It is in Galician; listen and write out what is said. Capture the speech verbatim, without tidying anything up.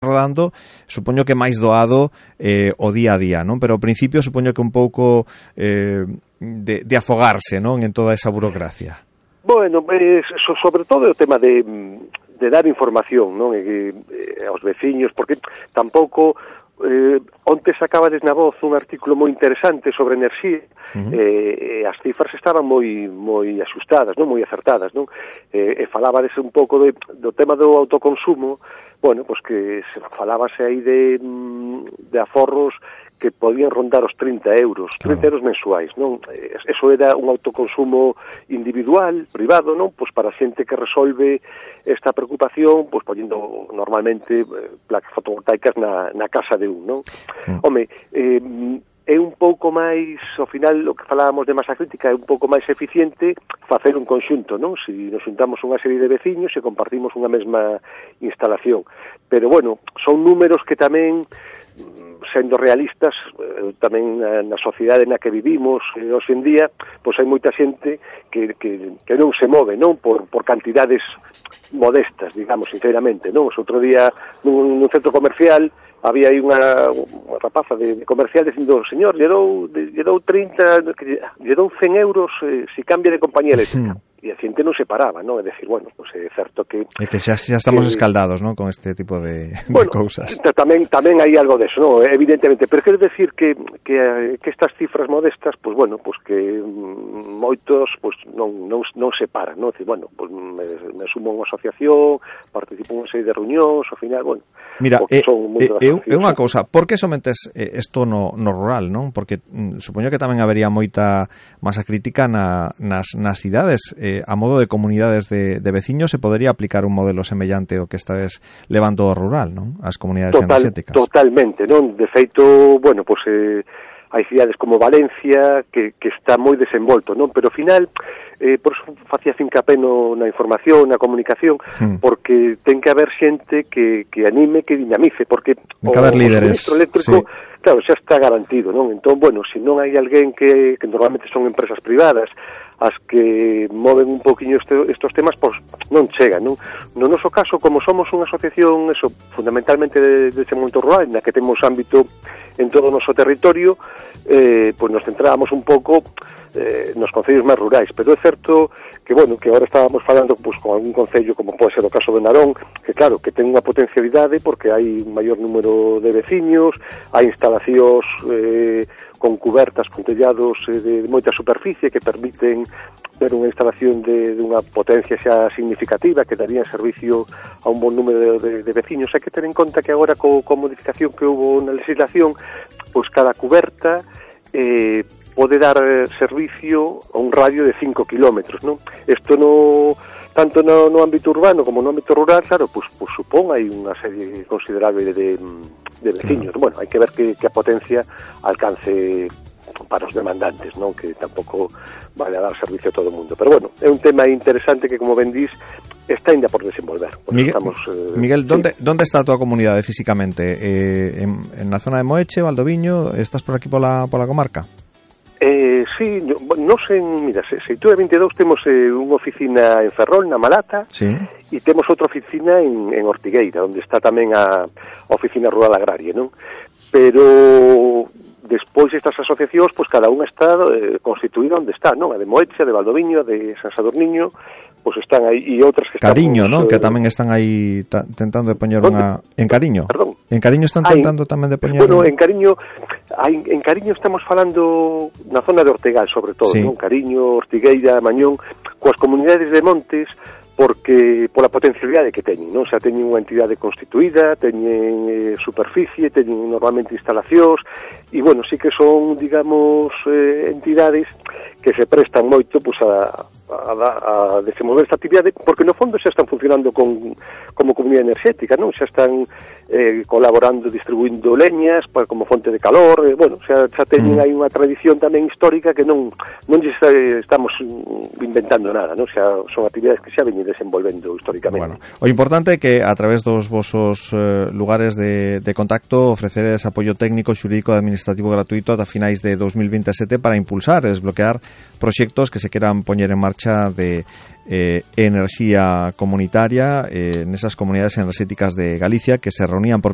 rodando, supoño que máis doado eh, o día a día, non? Pero ao principio supoño que un pouco eh, de, de afogarse, non? En toda esa burocracia. Bueno, eh, so, sobre todo o tema de, de dar información, non? E, eh, aos veciños, porque tampouco eh, onte sacabades na voz un artículo moi interesante sobre enerxía. Uh-huh. eh, as cifras estaban moi moi asustadas, non? Moi acertadas, non? Eh, e falabades un pouco de, do tema do autoconsumo. Bueno, pois que se falábase aí de, de aforros que podían rondar os trinta euros, trinta euros mensuais, non? Eso era un autoconsumo individual, privado, non? Pois para a xente que resolve esta preocupación, pois poñendo normalmente placas fotovoltaicas na, na casa de un, non? Mm. Home, eh, é un pouco máis, ao final, o que falábamos de masa crítica, é un pouco máis eficiente facer un conxunto, non? Se nos juntamos unha serie de veciños e compartimos unha mesma instalación. Pero, bueno, son números que tamén, sendo realistas, tamén na sociedade na que vivimos eh, hoxe en día, pois hai moita xente que, que, que non se move, non? Por, por cantidades modestas, digamos, sinceramente, non? O outro día, nun, nun centro comercial, había aí unha, unha rapaza de, de comercial dicindo, señor, lle dou, lle dou trinta, lle dou cen euros eh, si cambia de compañía eléctrica. Mm. E a xente non se paraba, non? É dicir, bueno, pues é certo que... É que xa, xa estamos que, escaldados, non? Con este tipo de, bueno, de cousas. Tamén, tamén hai algo deso, non? Evidentemente, pero quero decir que, que, que estas cifras modestas, pues bueno, pues que moitos pues non, non, non se paran, non? É dicir, bueno, pues me, me sumo a unha asociación, participo en unha serie de reunións, ao final, bueno... Mira, é eh, eh, unha cousa, por que somente isto no, no rural, non? Porque mm, supoño que tamén habería moita masa crítica na, nas, nas cidades, eh, a modo de comunidades de, de veciños se podería aplicar un modelo semellante ao que estades levando ao rural, non? As comunidades Total, enerxéticas. Totalmente, non? De feito, bueno, pois eh, hai cidades como Valencia que, que está moi desenvolto, non? Pero ao final, eh, por eso facía fincapé no, na información, na comunicación, hmm. porque ten que haber xente que, que anime, que dinamice, porque ten que haber líderes, o eléctrico, sí. Claro, xa está garantido, non? Entón, bueno, se non hai alguén que, que normalmente son empresas privadas, as que moven un poquinho este, estos temas, pois non chegan, non? No noso caso, como somos unha asociación, eso, fundamentalmente de, de desenvolvemento rural, na que temos ámbito en todo o noso territorio, eh, pois nos centrábamos un pouco eh, nos concellos máis rurais, pero é certo que, bueno, que agora estábamos falando pois, con algún concello, como pode ser o caso de Narón, que claro, que ten unha potencialidade porque hai un maior número de veciños, hai instalacións eh, con cubertas, con tellados eh, de moita superficie que permiten ter unha instalación de, de unha potencia xa significativa que daría servicio a un bon número de, de, de veciños. Hai que ter en conta que agora co, co modificación que houve na legislación, pois cada cuberta eh, pode dar servicio a un radio de cinco kilómetros, non? Isto no, tanto no, no ámbito urbano como no ámbito rural, claro, pois, pois supón hai unha serie considerable de, de veciños. Claro. Bueno, hai que ver que, que a potencia alcance para os demandantes, non? Que tampouco vale a dar servicio a todo o mundo. Pero bueno, é un tema interesante que, como ben dís, está ainda por desenvolver. Miguel, estamos, eh, Miguel sí. ¿dónde, ¿dónde está a tua comunidade físicamente? Eh, en, en na zona de Moeche, Valdoviño? Estás por aquí pola, pola comarca? Eh, sí, no, non sei, mira, se, se Seitura vinte e dous temos eh, unha oficina en Ferrol, na Malata, sí. E temos outra oficina en, en Ortigueira, onde está tamén a, a oficina rural agraria, non? Pero despois estas asociacións, pois cada unha está eh, constituída onde está, non? A de Moeche, a de Valdoviño, a de San Sadurniño, pois están aí, e outras que están... Cariño, pues, non? Eh, que tamén están aí ta, tentando de poñer unha... En Cariño? Perdón. En Cariño están tentando tamén de poñer... Bueno, en Cariño, hai, en Cariño estamos falando na zona de Ortegal, sobre todo, sí. Non? Cariño, Ortigueira, Mañón, coas comunidades de montes, porque pola potencialidade que teñen, non? O sea, teñen unha entidade constituída, teñen eh, superficie, teñen normalmente instalacións, e, bueno, sí que son, digamos, eh, entidades que se prestan moito pues, a, a, a desenvolver esta actividade, porque no fondo xa están funcionando con, como comunidade enerxética, non? Xa están eh, colaborando, distribuindo leñas para, como fonte de calor, eh, bueno, xa, xa teñen mm. aí unha tradición tamén histórica que non non lles estamos inventando nada, non? Xa son actividades que xa veñen desenvolvendo históricamente. Bueno, o importante é que a través dos vosos eh, lugares de, de contacto ofreceres apoio técnico, xurídico e administrativo gratuito ata finais de dos mil vinte e sete para impulsar e desbloquear proxectos que se queran poñer en marcha marcha de eh, enerxía comunitaria eh, nesas comunidades enerxéticas de Galicia que se reunían por